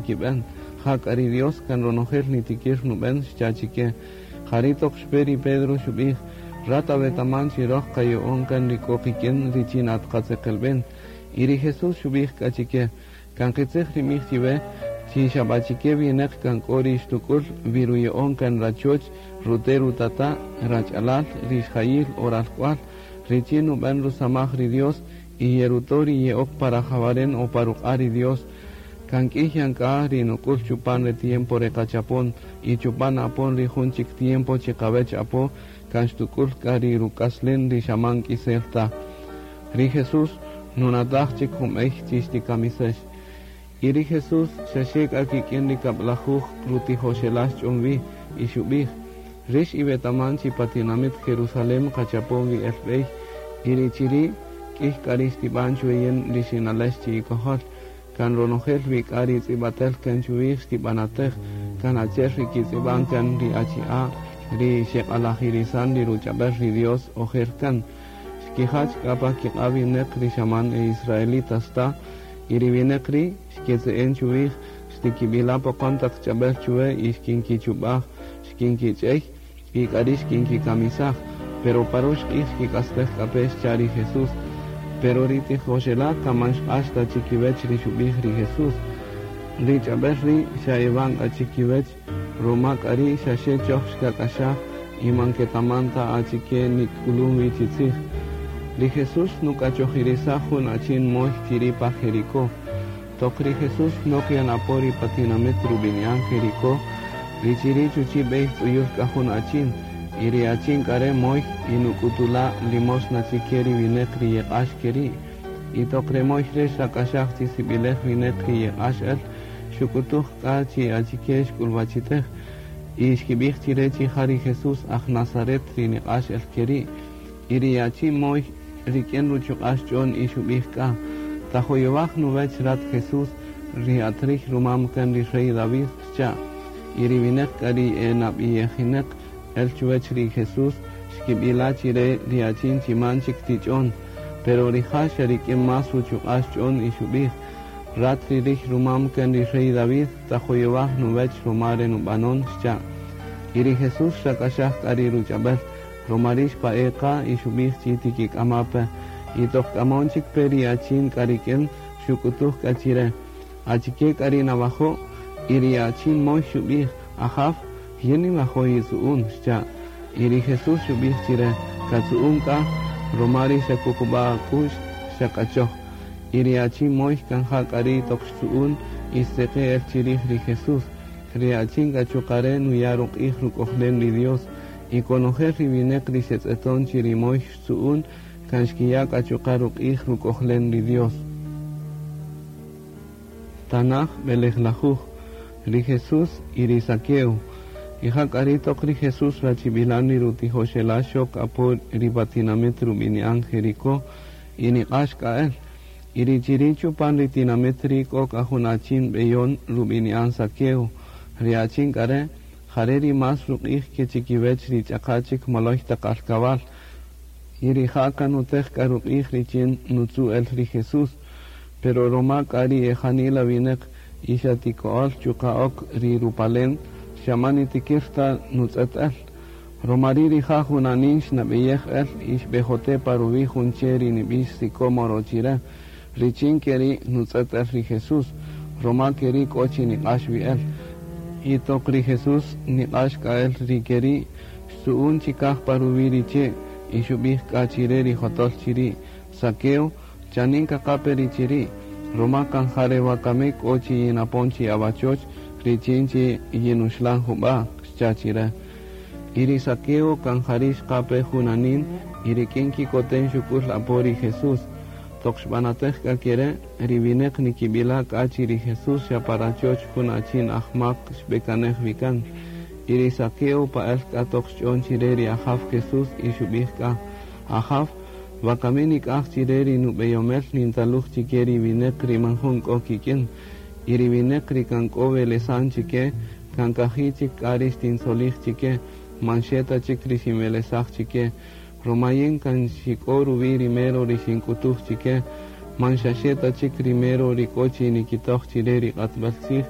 Nikib'en, jak'a ri Dios kan ronojel nitikir nub'en, xcha' chike. Jari' toq xpe ri Pedro xub'ij, Rat awetaman chi roj qaya'on kan ri k'o qik'in richin at qatzeqelb'en. Y ri Jesús xub'ij k'a chike, Kan qitzij ri nb'ij chiwe, chi xa b'a chike winäq kan k'o ri xtuk'ül wi ruya'on kan rachoch, rute' rutata', rach'alal, rixjayil o ralk'wal, richin nub'än rusamaj ri Dios y yeruto' ri ye'ok pa rajawaren o pa ruq'a' ri Dios. Kan k'ïy yan k'a ri nuk'ül chupan re tiempo re qachapon y chupan apon ri jun chik tiempo chi qawäch apo kan xtuk'ül k'a ri ruk'aslen ri xa man k'isel ta. Ri Jesús nunataj chik jun b'ey chi xtikamisäx. Y ri Jesús xa xe k'a kik'in ri kab'lajuj rutijoxela' xch'on wi, y xub'ij, Rïx iwetaman chi pa tinamït Jerusalén qachapon wi el b'ey, y ri chi ri' k'ïy k'a ri xtib'an chwe yin ri xinaläx chi'ikojol. Kan ronojel wi k'a ri tz'ib'atel kan chuwij xtib'anatäj, kan achi'el ri kitz'ib'an kan ri achi'a' ri xeq'alajirisan ri ruch'ab'äl ri Dios ojer kan. Xkijach k'a pa kiq'a' winäq ri xa man e israelitas ta, y ri winäq ri' xketze'en chuwij, xtikib'ila' poqon taq ch'ab'äl chuwe y xkinkichub'aj, xkinkich'ey y k'ari' xkinkikamisaj. Pero pa rox q'ij xkik'astej k'a pe, xcha' ri Jesús. Pero ri tijoxela' kan man xq'ax ta chikiwech ri xub'ij ri Jesús. Ri ch'ab'äl ri' xa ewan k'a chikiwech, ruma k'a ri' xa xe choj xkak'axaj y man ketaman ta achike nik'ulun wi chi tzij. Ri Jesús nuk'achojirisaj jun achin moy chiri' pa Jericó. Toq ri Jesús nok yan apo ri pa tinamït rub'ini'an Jericó, ri chiri' chuchi' b'ey tz'uyül k'a jun achin, y ri achin k'a re' moy y nuk'utula' limosna chike ri winäq ri yeq'ax ke ri'. Y toq re moy re' xrak'axaj chi sib'ilej winäq ri yeq'ax el, xuk'utuj k'a chi achike xk'ulwachitej. Y xkib'ij chi re chi ja ri Jesús aj Nazaret ri niq'ax el ke ri'. Y ri achin moy rik'in ruchuq'a' xch'on y xub'ij k'a, Tajoyowaj nuwech rat Jesús, ri at riy rumam kan ri rey David, xcha'. Y ri winäq k'a ri e nab'iyejinäq el chuwech ri Jesús xkib'ila' chi re ri achin chi man chik tich'on. Pero rija' xa rik'in más ruchuq'a' xch'on y xub'ij, Rat ri riy rumam kan ri rey David, tajoyowaj nuwech ruma re nub'anon, xcha'. Y ri Jesús xrak'axaj k'a ri ruch'ab'äl, ruma ri' xpa'e' qa y xub'ij chi tikik'ama' pe. Y toq k'amon chik pe ri achin k'a rik'in, xuk'utuj k'a chi re, Achike k'a ri nawajo'? Y ri achin moy xub'ij, Ajaw, yin ninwajo' yitzu'un, xcha'. Y ri Jesús xub'ij chi re, Katzu'un k'a, ruma ri xakuqub'a' ak'u'x, xak'achoj. Y ri achin moy kan ja k'a ri' toq xtzu'un y xtzeqe' el chirij ri Jesús. Ri achin k'a chuqa' re' nuya' ruq'ij ruk'ojlen ri Dios. Y konojel ri winäq ri xetz'eton chi ri moy xtzu'un, kan xkiya' k'a chuqa' ruq'ij ruk'ojlen ri Dios. Tanaj b'elejlajuj, Ri Jesús y ri Zaqueo. Y ja k'a ri' toq ri Jesús rachib'ilan ri rutijoxela' xok apo ri pa tinamït rub'ini'an Jericó y niq'ax k'a el. Y ri chiri' chupan ri tinamït ri' k'o k'a jun achin b'eyon rub'ini'an Zaqueo. Ri achin k'a re', jare' ri más ruq'ij ke chikiwech ri ch'aqa' chik moloy taq alkabal. Y rija' kan nutej k'a ruq'ij richin nutzu' el ri Jesús. Pero roma k'a ri e janila winäq y xa tiko'öl chuqa' ok ri rupalen, xa man nitikir ta nutz'ët el. Roma ri' rija' junanin xnab'eyej el y xb'ejote' pa ruwi' jun che' ri nib'ix sicómoro chi re, richin ke ri' nutz'ët el ri Jesús, roma ke ri' k'o chi niq'ax wi el. Y toq ri Jesús niq'ax k'a el ri ke ri', xtzu'un chikaj pa ruwi' ri che' y xub'ij k'a chi re ri jotol chi ri', Zaqueo, chanin kaqape ri chiri', roma kan ja re wakami k'o chi yinapon chi awachoch richin chi yinuxlan jub'a', xcha' chi re. Y ri Zaqueo kan jari' xqa-pe junanin y rik'in kikoten xuk'ul apo ri Jesús. Toq xb'anatej k'a ke re', ri winäq nikib'ila' k'a chi ri Jesús xa pa rachoch jun achin ajmak xb'ekanej wi kan. Y ri Zaqueo pa'äl k'a toq xch'on chi re ri Ajaw Jesús y xub'ij k'a, Ajaw, wakami nik'aj chi re ri nub'eyomel nintaluj chike ri winäq ri man jun k'o kik'in. Y ri winäq ri kan k'o welesan chike, kan kaji' chik k'a ri xtintzolij chike, man xe ta chik ri xinwelesaj chike. Ruma yin kan xik'o ruwi' ri mero ri xink'utuj chike, man xa xe ta chik ri mero ri k'o chi nikitoj chi re ri q'atb'äl tzij.